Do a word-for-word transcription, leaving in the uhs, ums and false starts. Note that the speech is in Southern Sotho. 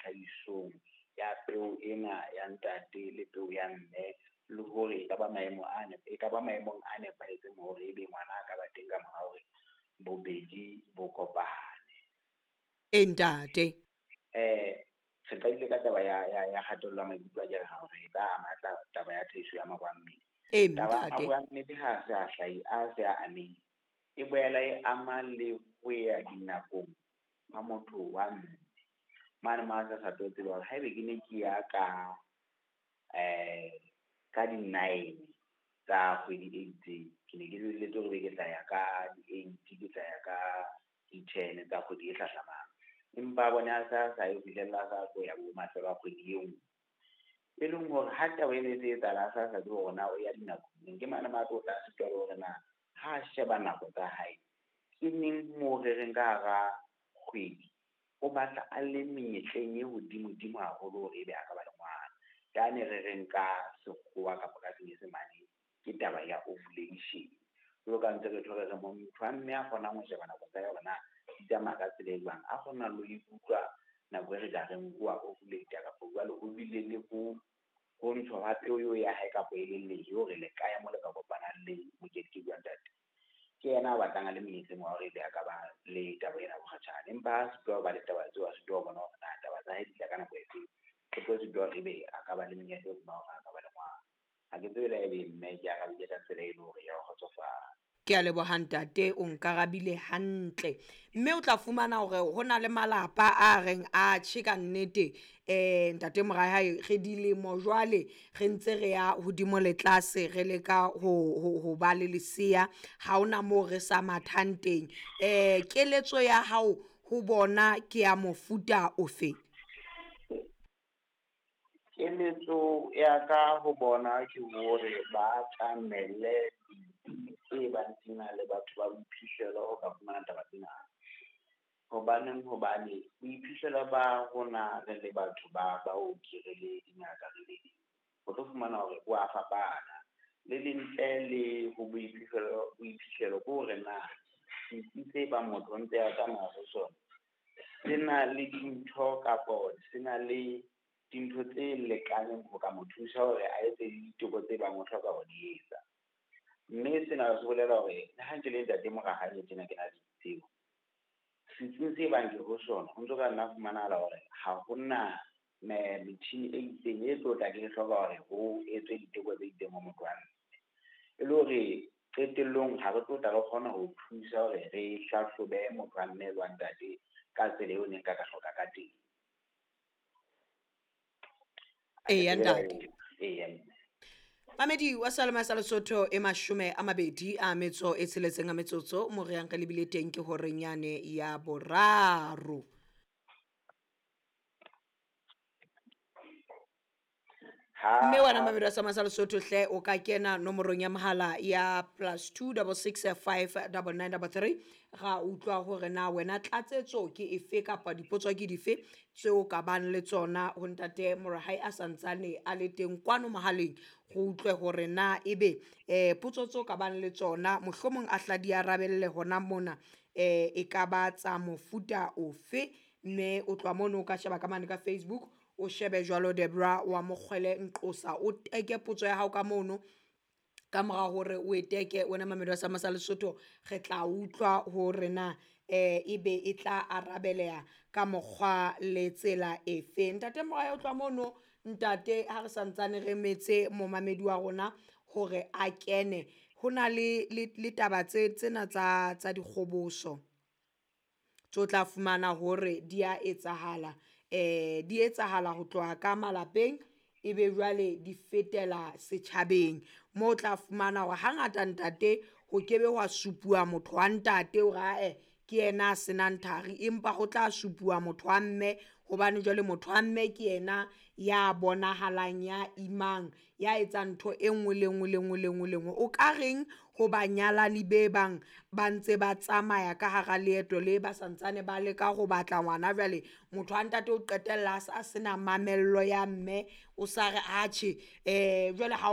tlhahisong ya peo ena ya ntate le peo ya mme, le hore e ka ba maemo a e ka ba maemong a nepahetseng hore ebe ngwana a ka ba teng ka mora hore bobedi bo kopane. E ntate. Eh re qadile ka taba ya ya ya kgatello ya maikutlo akere hore e ka ama taba ya tlhahiso ya maro a mmele. E Taba ya ntate. maro a mmele ha se a hlahi a se a amehile, e boela e ama le ho ya dinakong ha motho wa mme. Mane mo a sa sa tlo tseba hore haebe ke ne ke ya ka eh ka di-nine tsa kgwedi e itseng, ke ne ke lebelletse hore ebe ke tla ya ka di-eight, ke tla ya ka di-ten tsa kgwedi e hlahlamang. Empa a bone a sa sa ye ho fihlella a sa tlo ya bo mafelo a kgwedi e nngwe. E leng hore ha taba ena e se etsahala a sa sa tsebe hore na o ya dinakong, ke mane mo a tlo tla sitwa le hore na ha sheba nako tsa hae, ke neng moo re reng ka hara kgwedi o batla a le menyetleng e hodimo-dimo haholo hore ebe a ka ba le ngwana. Yane re reng ka sekgowa kapa ka senyesemane ke taba ya ovulation. Jwalo ka ntse re tjho re re motho wa mme a kgonang ho sheba nako tsa hae hore na di tsamaya ka tsela e jwang, a kgona le ho ikutlwa nako e re ka reng o a ovulate kapa jwale o bile le ho ho ntshwa ha peo eo ya hae kapa e leng lehe hore le kae mo le ka kopanang le mokedikedi wa ntate. Ke yena a batlang a le monyetleng wa hore ebe a ka ba le taba ena ya bokgatjhane. Empa ha sitwa ho ba le taba tseo, a sitwa ho bona hore na taba tsa hae di tla ka nako e feng, o tlo sitwa hore ebe a ka ba le monyetla o hore a ka ba le ngwana. Ha ke tsebe le ha ebe mme ke arabile ka tsela e leng hore ya o kgotsofatsa. Ke a leboha ntate, o nkarabile hantle. Mme o tla fumana hore ho na le malapa a reng a tjhe ka nnete eh ntate Morahae re dilemo jwale re ntse re ya hodimo le tlase re leka ho ho ho ba le lesea, ha hona moo re sa mathang teng. Eh keletso ya hao ho bona ke ya mofuta ofe? Keletso ya ka ho bona ke hore ba atamele ditsi tse bang di na le batho ba boiphihlelo ho ka fumana taba tsena. Hobaneng hobane boiphihlelo ba rona re le batho ba baoki, re le dingaka, re le o tlo fumana hore bo a fapana. Le le ntle le ho boiphihlelo boiphihlelo ke hore na setsi se bang motho o ntse a tsamaya ho sona, se na le dintho kapo se na le dintho tse lekaneng ho ka mo thusa hore a etse diteko tse bang o hloka ho di etsa. Mme sena se bolela hore le ha ke le ntate Morahae tjena ke na le tsebo, setsing se bang ke ho sona ho ntso ka nna fumanahala hore ha hona metjhini e itseng e tlo tla ke hloka hore ho etswe diteko tse itseng ho motho wa mme. E le hore qetellong ha re tlo tla re kgona ho thusa hore re hlahlobe motho wa mme le wa ntate ka tsela eo ne nka ka hloka ka teng. Eya ntate. Eya mme. Mamedi wa Salema sa Lesotho e mashome a mabedi a metso e tsheletseng a metsotso mo re yang re lebile teng ke horeng yane ya boraro. Mme wena mamedi wa Salema sa Lesotho hle o ka kena nomorong ya mohala ya plus two double six five double nine double three ra utlwa hore na wena tlatsetso ke efe kapa dipotso ke dife tseo ka bang le tsona ho ntate Morahae a santsane a le teng kwano mohaleng, go utlwe hore na ebe eh potso tseo ka bang le tsona mohlomong a hla di arabelle hona mona eh e ka ba tsa mofuta ofe. Mme o tloha mono o ka sheba ka mane ka Facebook, o shebe jwalo Debra wa Mokgwele Nqosa, o teke potso ya hao ka mono. Ka mora hore o e teke wena mamedi wa Salema sa Lesotho, re tla utlwa hore na eh ebe e tla arabeleha ka mokgwa le tsela efe. Ntate Morahae o tloha mono, ntate ha re santsane re metse momamedi wa rona hore a kene, ho na le le taba tse tsena tsa tsa dikgoboso tso tla fumana hore di a etsahala, eh di etsahala ho tloha ka malapeng ebe jwale di fetela setjhabeng mo tla fumana hore hangata ntate ho kebe hwa supuwa motho wa ntate hore ae ke yena a senang thari, empa ho tla supuwa motho wa mme hobane jwale motho wa mme ke yena ya bonahalang, ya imang, ya etsang ntho e nngwe le nngwe le nngwe le nngwe le nngwe. O ka reng ho banyalani be bang ba ntse ba tsamaya ka hara leeto le ba santsane ba leka ho batla ngwana, jwale motho wa ntate o qetella a sa sena mamello ya mme, o sa re atjhe eh jwale ha